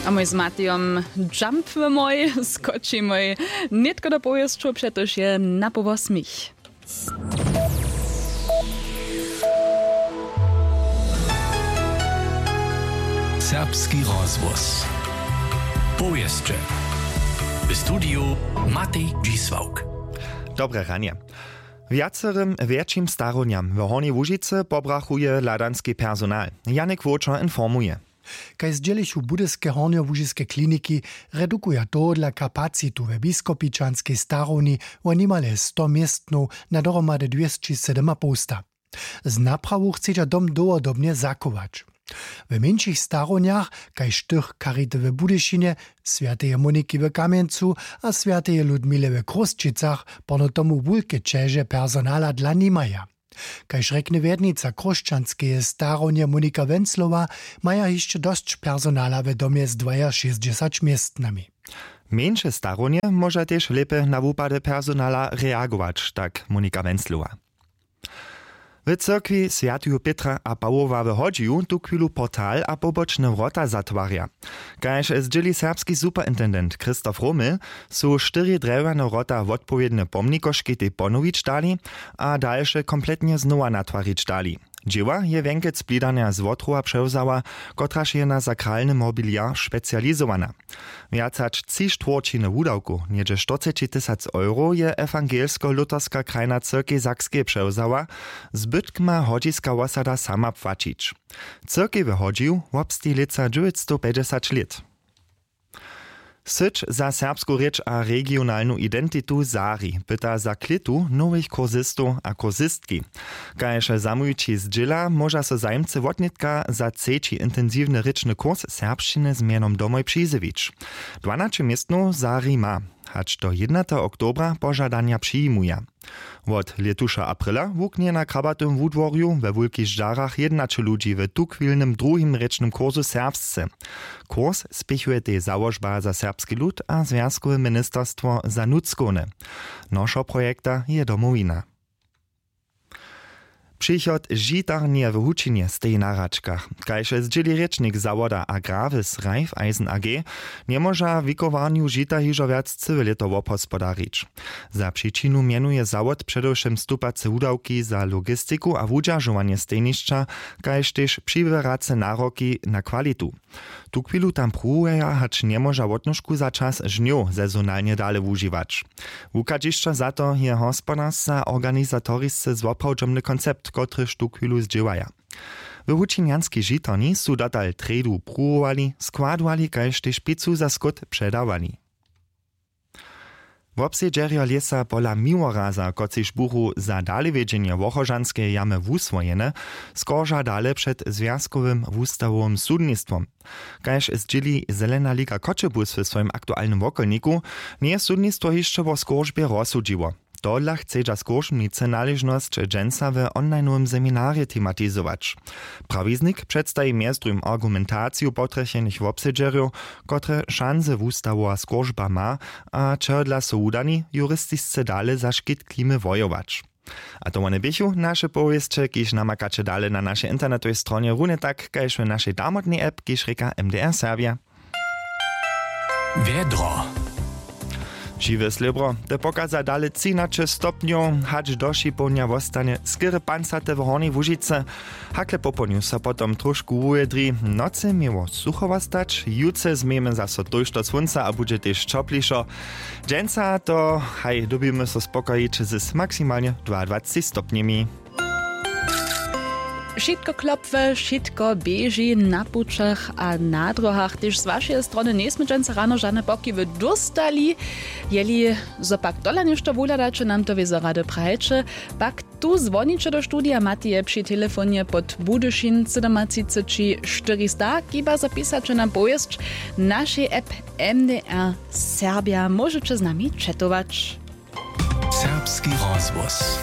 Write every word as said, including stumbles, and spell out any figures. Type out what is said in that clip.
A mój z Matejom džampmy mój, skočimoj nětko do powěsćow, přetož je na połosmich. Serbski rozhłos. Powěsće. W studiju Matej Dźisławk. Dobre ranje. Wjacerym wjetšim starownjam w Hornjej Łužicy pobrachuje hladanski personal. Janik Wowčer informuje. Kaž zdźělichu budyske hornjołužiske kliniki, redukuja tohodla kapacitu we biskopičanskej starowni wo nimale sto městnow na dohromady dwěsći sydomapołsta. Z naprawu chcedźa dom dołhodobnje zachować. W mjeńšich starownjach, kaž tych charity w Budyšinje, swjateje Moniki w Kamjencu a swjateje Ludmile w Chrósćicach, porno tomu wulke ćeže personala dla nimaja. Kaž rjekny wjednica chróšćanskeje starownje Monika Wenclowa, maja hišće dosć personala w domje z dwajašěsćdźesać městnami. Mjeńše starownje móža tež lěpje na wupady personala reagować, tak Monika Wenclowa. W cyrkwi swjateju Pětra a Pawoła w Hodźiju tuchwilu portal a pobočne wrota zatwarja. Kaž zdźěli serbski superintendent Christoph Romel, su štyri drjewjane wrota wotpowědne pomnikoški tej ponowić dali a dalše kompletnje znowa natwarić dali. Dźěła je wjenkec blidarnja z Wotrowa přewzała, kotraž je na sakralny mobiliar specializowana. Wjac hač tři štwórćiny wudawkow, něhdźe štyrceći tysac euro, je ewangelsko-luterska krajna cyrkej Sakskej přewzała, zbytk ma hodźiska wosada sama płaćić. Cyrkej w Hodźiju wobsteji lětsa dźewjećstowpjećdźesać lět. Syć za serbsku rěč a regionalnu identitu Sari pyta za klětu nowych kursistow a kursistki. Kaž zamołwići zdźěla, móža so zajimcy wotnětka za třeći intensiwny rěčny kurs serbšćiny z mjenom domoj přizjewić. Dwanaće městnow Sari ma, hač do jědnateho oktobra požadanja přijimuja. Wot lětuša aprila wuknje na krabatym wudworju we Wulkich Žarach jědnaće ludźi w tuchwilnym druhim rěčnym kursu serbsce. Kurs spěchuje tež załožba za serbski lud a zwjazkowe ministerstwo za nutřkowne. Nošo projekta je Domowina. Přichod žitarnje w Hučinje steji na hračkach. Kaž zdźěli rěčnik zawoda Agravis Raiffeisen A G, njemóža w wikowarnju žita hižo wjac cyłe lěto wobhospodarić. Za přičinu mjenuje zawod předewšěm stupace wudawki za logistiku a wudźeržowanje stejnišća, kaž tež přiběrace naroki na kwalitu. Tuchwilu tam pruwuja, hač njemóža wotnožku za čas žnjow sezonalnje dale wužiwać. Wuchadźišćo za to je hospodarsce a organizatorisce zwoprawdźomny koncept, kotryž tuchwilu zdźěłaja. W hučinjanskej žitarni su dotal trjedu pruwowali, składowali kaž tež pěcu za skót předawali. Wobsedźerjo lěsa pola Miłoraza, kotřiž buchu za dalewjedźenje Wochožanskeje jamy wuswojene, skorža dale před zwjazkowym wustawowym sudnistwom. Kaž zdźěli Zelena liga Choćebuz w swojim aktualnym wokolniku, njeje sudnistwo hišće wo skóržbje rozsudźiło. Tohodla chcedźa skóršbnicy naležnosć dźensa w onlinowym seminarje tematizować. Prawiznik předstaji mjez druhim argumentaciju potrjechenych wobsedźerjow, kotre šansy wustawowa skóržba ma a čehodla su wudani, juristisce dale za škit klimy wojować. A to wone běchu naše powěsće, kiž namakaće dale na našej internetowej stronje, runje tak kaž w našej damotnej app, kiž rěka M D R Serbja. Wjedro. Žiwe slěbro, te pokaza dale třinaće stopnjow, hač do šipołdnja wostanje skerje pancate w Hornjej Łužicy. Hakle popołdnju so potom trošku wuwjedri, w nocy měło sucho wostać, jutře změjemy zaso tójšto słónca a budźe tež ćoplišo. Dźensa to haj, dyrbimy so spokojić z maksimalnje dwaadwaceći stopnjemi. Wšitko klopwy, wšitko běži na pućach a na dróhach. Tež z wašeje strony njejsmy dźensa rano žane pokiwy dóstali. Jeli zo pak tola něšto wuhladaće, nam to wězo rady prajće, pak tu zwoniće do studija Mateje při telefonje pod Budyšin sydomatřiceći štyrista, kiba zapisaće nam powěsć w našej app M D R Serbja. Móžeće z nami četować. Serbski rozhłos.